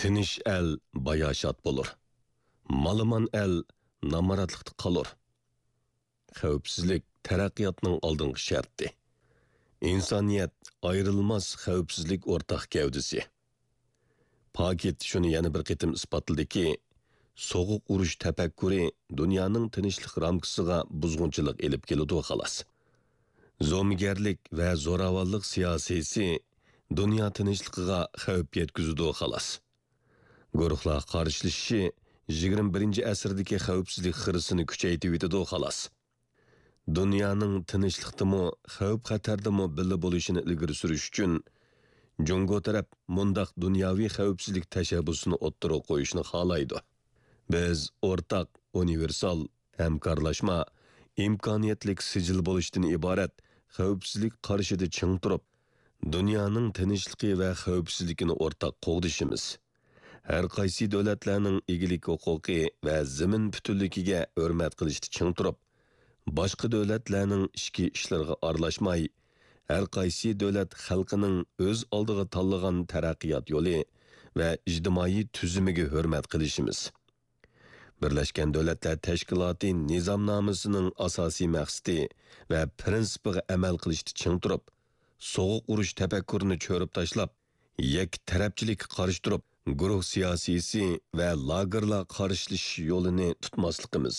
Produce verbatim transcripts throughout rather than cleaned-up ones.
تىنچ ئەل باياشات بولۇر. مالىمان ئەل نامراتلىقتا قالۇر. خەۋپسىزلىك تەرەققىياتنىڭ ئالدىنقى شەرتى. ئىنسانىيەت ئايرىلماس خەۋپسىزلىك ئورتاق گەۋدىسى. پاكىت شۇنى يەنە بىر قېتىم ئىسپاتلىدىكى، سوغۇق ئۇرۇش تەپەككۇرى دۇنيانىڭ تىنچلىق رامكىسىغا بۇزغۇنچىلىق ئېلىپ كېلىدۇ، خالاس. زومىگەرلىك ۋە زوراۋانلىق سىياسىيسى دۇنيا تىنچلىقىغا خەۋپ يەتكۈزىدۇ، خالاس. گۇرۇھلار قارشىلىشىشى يىگىرمە بىرىنچى ئەسىردىكى خەۋپسىزلىك خىرىسىنى كۈچەيتىۋېتىدۇ، خالاس. دۇنيانىڭ تىنچلىقتىمۇ، خەۋپ-خەتەردىمۇ بىللە بولۇشىنى ئىلگىرى سۈرۈش ئۈچۈن، جۇڭگو تەرەپ مۇنداق دۇنياۋى خەۋپسىزلىك تەشەببۇسىنى ئوتتۇرىغا قويۇشنى خالايدۇ. بىز ئورتاق، ئۇنىۋېرسال، ھەمكارلاشما، ئىمكانىيەتلىك سىجىل بولۇشتىن ئىبارەت خەۋپسىزلىك قارىشىدا چىڭ تۇرۇپ، دۇنيانىڭ تىنچلىقى ۋە خەۋپسىزلىكىنى ئورتاق قوغدىشىمىز. ھەر قايسى دۆلەتلەرنىڭ ئىگىلىك ھوقۇقى ۋە زېمىن پۈتۈنلۈكىگە ھۆرمەت قىلىشتا چىڭ تۇرۇپ، باشقا دۆلەتلەرنىڭ ئىچكى ئىشلىرىغا ئارىلاشماي، ھەر قايسى دۆلەت خەلقىنىڭ ئۆز ئالدىغا تاللىغان تەرەققىيات يولى ۋە ئىجتىمائىي تۈزۈمىگە ھۆرمەت قىلىشىمىز. بىرلەشكەن دۆلەتلەر تەشكىلاتى نىزامنامىسىنىڭ ئاساسىي مەقسىتى ۋە پىرىنسىپىغا ئەمەل قىلىشتا چىڭ تۇرۇپ، سوغۇق ئۇرۇش تەپەككۇرىنى چۆرۈپ تاشلاپ، يەككە تەرەپچىلىككە قارشى تۇرۇپ، گۇرۇھ سىياسىيسى ۋە لاگېرلار قارشىلىشىش يولىنى تۇتماسلىقىمىز.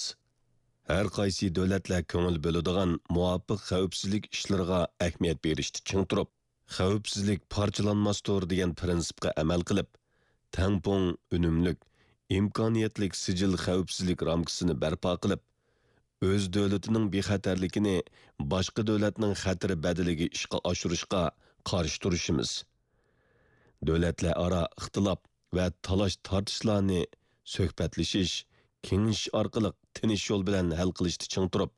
ھەر قايسى دۆلەتلەر كۆڭۈل بۆلىدىغان مۇۋاپىق خەۋپسىزلىك ئىشلىرىغا ئەھمىيەت بېرىشتە چىڭ تۇرۇپ، خەۋپسىزلىك پارچىلانماستۇر دېگەن پىرىنسىپقا ئەمەل قىلىپ، تەڭپۇڭ، ئۈنۈملۈك، ئىمكانىيەتلىك سىجىل خەۋپسىزلىك رامكىسىنى بەرپا قىلىپ، ئۆز دۆلىتىنىڭ بىخەتەرلىكىنى باشقا دۆلەتنىڭ خەتىرى بەدىلىگە ئىشقا ئاشۇرۇشقا قارشى تۇرۇشىمىز. دۆلەتلەر ئارا ئىختىلاپ ۋە تالاش-تارتىشلارنى سۆھبەتلىشىش، كېڭىشىش ئارقىلىق تىنچ يول بىلەن ھەل قىلىشتا چىڭ تۇرۇپ،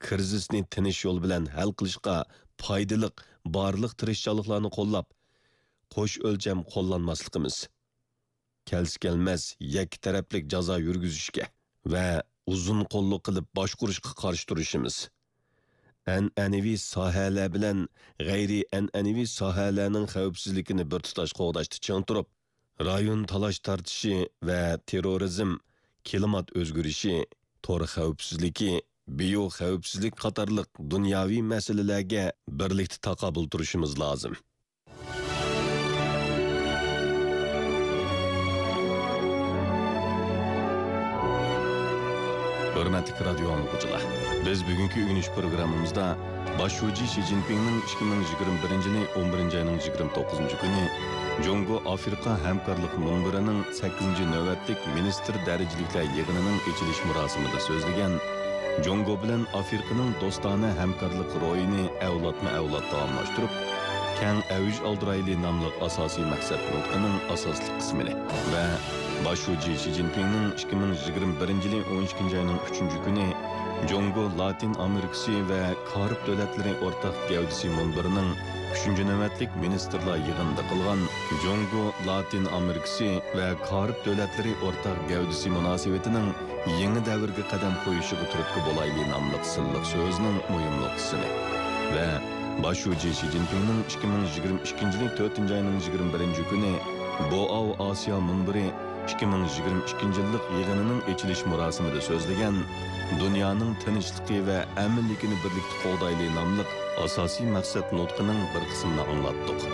كىرىزىسنى تىنچ يول بىلەن ھەل قىلىشقا پايدىلىق بارلىق تىرىشچانلىقلارنى قوللاپ، قوش ئۆلچەم قوللانماسلىقىمىز، كەلسە-كەلمەس يەككە تەرەپلىك جازا يۈرگۈزۈشكە ۋە ئۇزۇن قوللۇق قىلىپ باشقۇرۇشقا قارشى تۇرۇشىمىز. ئەنئەنىۋى ساھەلەر بىلەن غەيرىي ئەنئەنىۋى ساھەلەرنىڭ خەۋپسىزلىكىنى بىر تۇتاش قوغداشتا چىڭ تۇرۇپ، رايون تالاش-تارتىشى ۋە تېررورىزم، كىلىمات ئۆزگىرىشى، تور خەۋپسىزلىكى، بىيو خەۋپسىزلىك قاتارلىق دۇنياۋى مەسىلىلەرگە بىرلىكتە تاقابىل تۇرۇشىمىز لازىم. ھۆرمەتلىك رادىيو ئاڭلىغۇچىلار، بىز بۈگۈنكى ئۆگىنىش پروگراممىمىزدا باش شۇجى شى جىنپىڭنىڭ ئىككى مىڭ يىگىرمە بىرىنچى يىلى ئون بىرىنچى ئاينىڭ يىگىرمە توققۇزىنچى كۈنى جۇڭگو ئافرىقا ھەمكارلىق مۇنبىرىنىڭ سەككىزىنچى نۆۋەتلىك مىنىستىر دەرىجىلىكلەر يىغىنىنىڭ ئېچىلىش مۇراسىمىدا سۆزلىگەن، جۇڭگو بىلەن ئافرىقىنىڭ دوستانە ھەمكارلىق روھىنى ئەۋلادمۇ ئەۋلاد داۋاملاشتۇرۇپ، كەڭ ئەۋج ئالدۇرايلى ناملىق ئاساسىي مەقسەت نۇتقىنىڭ ئاساسلىق قىسمىنى ۋە باش شۇجى شى جىنپىڭنىڭ ئىككى مىڭ يىگىرمە بىرىنچى يىلى ئون ئىككىنچى ئاينىڭ ئۈچىنچى كۈنى جۇڭگو لاتىن ئامېرىكىسى ۋە كارىب دۆلەتلىرى ئورتاق گەۋدىسى مۇنبىرىنىڭ ئۈچىنچى نۆۋەتلىك مىنىستىرلار يىغىنىدا قىلغان جۇڭگو لاتىن ئامېرىكىسى ۋە كارىب دۆلەتلىرى ئورتاق گەۋدىسى مۇناسىۋىتىنىڭ يېڭى دەۋرگە قەدەم قويۇشىغا تۈرتكە بولايلى ناملىق سىرلىق سۆزىنىڭ مۇھىم نۇقتىسىنى ۋە باش شۇجى شى جىنپىڭنىڭ ئىككى مىڭ يىگىرمە ئىككىنچى يىلى تۆتىنچى ئاينىڭ يىگىرمە بىرىنچى كۈنى بوئاۋ ئاسىيا مۇنبىرى ئىككى مىڭ يىگىرمە ئىككىنچى يىللىق يىغىنىنىڭ ئېچىلىش مۇراسىمىدا سۆزلىگەن، دۇنيانىڭ تىنچلىقى ۋە ئەمىنلىكىنى بىرلىكتە قوغدايلى ناملىق ئاساسىي مەقسەت نۇتقىنىڭ بىر قىسمىنى ئاڭلاتتۇق.